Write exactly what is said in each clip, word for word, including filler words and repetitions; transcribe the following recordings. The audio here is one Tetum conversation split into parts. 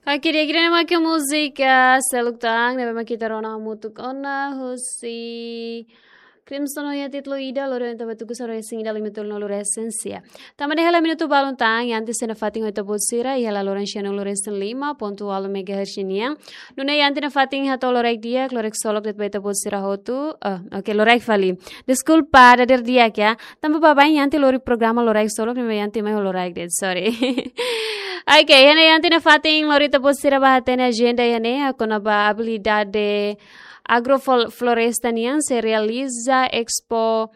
Oke, di'ak, ida-ne'e mak múzika seluk tan ne'ebé mak ita rona hamutuk ona husi Crimson ho nia títulu Ida, lori ita ba tuku sanulu-resin-ida, limatolu-nulu resin-sia. Tanba hela minutu balun tan, iha antes nafatin ho ita-boot sira iha laloran sianulu-resin-lima pontu ualu megahertz nian. Nune'e iha antes nafatin hato'o loraik di'ak, loraik ksolok de'it ba ita-boot sira hotu. Oh, oke, loraik fali. Deskulpa, dadeer di'ak ya. Tanba baibain iha antes lori programa loraik ksolok, ne'e iha antes mai loraik de'it, sorry. Oke, iha ne'e iha antes nafatin lori ita-boot sira ba hatene ajenda iha ne'e, kona-ba abilidade agrofloresta nian sei realiza Expo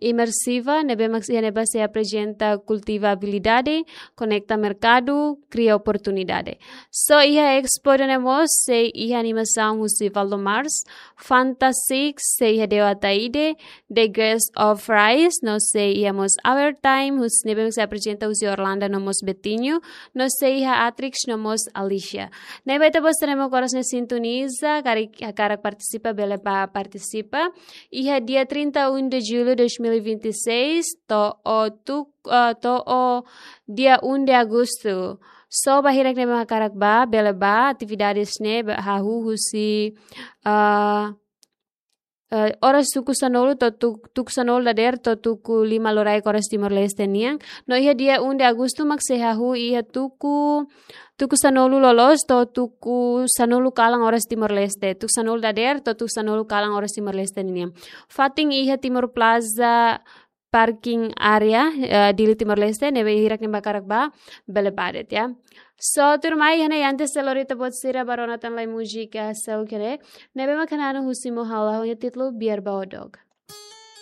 Imersiva, ne'ebé mak iha ne'ebá sei aprezenta kultiva abilidade, konekta merkadu, kria oportunidade. So iha Expo ida-ne'e mós sei iha animasaun husi Valdo Mars, Fantasix, sei iha Deo Ataide, The Grace of Rice, no sei iha mós Our Time, husi ne'ebé mak sei aprezenta husi Orlando no mós Betinho, no sei iha Atrix no mós Alicia. Ne'ebé ita-boot sira ne'ebé mak oras ne'e sintoniza, karik hakarak partisipa, bele bá partisipa. Iha dia trinta e um de julho de dois mil e vinte e seis, to'o tuk-, ah, to'o dia um de agosto. So ba hirak ne'ebé mak hakarak bá, bele bá, atividades ne'e ba hahú husi, ah, eh, oras tuku sanulu to'o tuk-, tuku sanulu dadeer to'o tuku lima loraik oras Timor-Leste nian. No iha dia um de agosto mak sei hahú iha tuku, tuku sanulu loloos to'o tuku sanulu kalan oras Timor-Leste. Tuku sanulu dadeer to'o tuku sanulu kalan oras Timor-Leste nian. Fatin iha Timor Plaza parking area, eh, Dili Timor-Leste, ne'ebé hirak ne'ebé mak hakarak bá, bele bá de'it ya. So, tuirmai, iha ne'e iha antes lori ita-boot sira ba rona tan lai múzika seluk ne'e, ne'ebé mak hananu husi Mo Halo ho nia títulu Biar Bau Dog.